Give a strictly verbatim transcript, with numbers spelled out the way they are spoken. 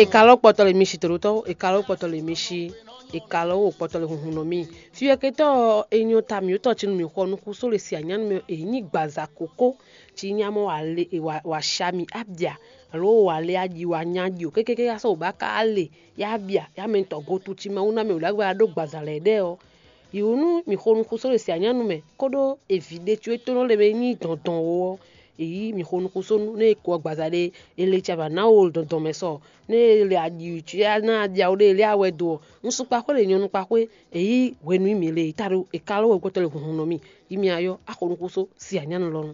È ka lɔ́ kpɔtɔ le mi si tòɖótɔ́, è ka lɔ́ kpɔtɔ le mi si, è ka lɔ́ wo kpɔtɔ le hunhun nɔ mì. Fyɔ́kɛtɔ́ ɔ́, è nyɔ ta mǐtɔn cí nú mǐ xɔ nukúnso le sianyánu mɛ, è nyí gbǎza kókó, cí nyá mɔ wǎ lé wǎ wǎ sha mì abya, alo wǎ lé aji wǎ nya ji o, kékéké yá sɔ́ wǒ bá ka lé yá bya yá mɛ tɔn go tu cí ma wú ná mɛ wǒ ɖagbe wá ɖó gbǎza lɛ́ɛ ɖɛ́ ɔ́. Yǐ wú nú mǐ xo nukúnso le sianyánu mɛ, kóɖó eví ɖé có e tónɔ le mɛ nyí dɔndɔn ó ɔ́, èyí mǐ xo nukúnsónú nú è ko ɔ́ gbǎza ɖé, è le caba ná wo dɔndɔn mɛ sɔ, nú è le aɖi ná aɖia wo ɖé è lé awɛ do ɔ́, un sú kpaxwé le nyɔ̌nu kpaxwé, èyí hwenu í mǐ le è ta ɖó è ka ló wɛ gbɔtɔ́ le hunhun nɔ mì, yi mì ayɔ axo nukúnsó sianyánu lɔ nu.